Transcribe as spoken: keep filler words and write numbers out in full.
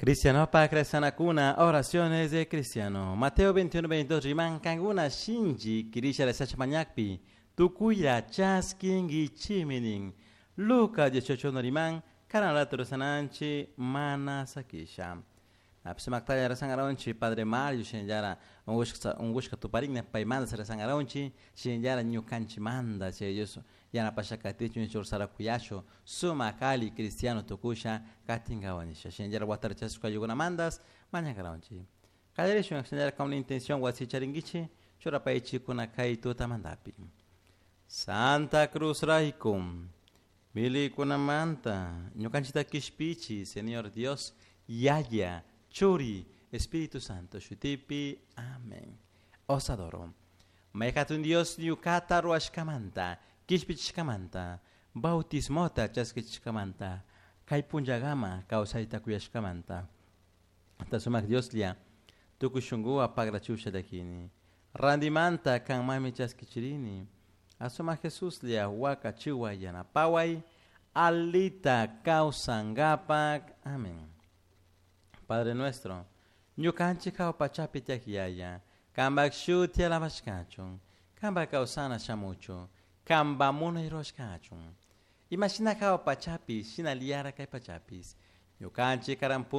Cristiano pa oraciones de cristiano. Mateo veintiuno, veintidós riman kankuna shinchi kirisha rezasha mañakpi tukuya chaskinkichimi nin. Lucas dieciocho uno riman karan rato rezananchi mana sakisha. Apsimaktalla rezangaronchi Padre Mario shinallara ungushka ungushka tuparinna paymanta rezangaronchi shinallara ñukanchi manda chay Dios yanapasha katichun chursara kuyashu sumak ali cristiano tukusha katinkawa nisha shinallara watara chasishka mandas mañangaronchi. Kallarishun shinallara con la intención wasicharinkichi churapaychikuna kay tutamantapi. Santa Cruz rayku milikunamanta ñukanchita kishpichi Señor Dios Yaya Churi Espíritu Santo shutipi. Amén. Os adoro. Mayhatun Dios ñukata ruwashkamanta kishpichishkamanta bautismota chaskichishkamanta kay punllakama kawsayta kuyashkamanta sumak Dioslla tukuy shunkuwan pagrachusha llakini randimanta kanmami chaskichirini asumak Jesuslla wakachiway yanapaway alita kawsankapak. Amén. Padre nuestro, ñukanchik hawa pachapi tiyak Yaya, kanpak shuti alabashkachun, kanpak kawsana shamuchun, kanpak munay rurashkachun. Imashina hawa pachapi, shinallara kay pachapish. Ñukanchik karan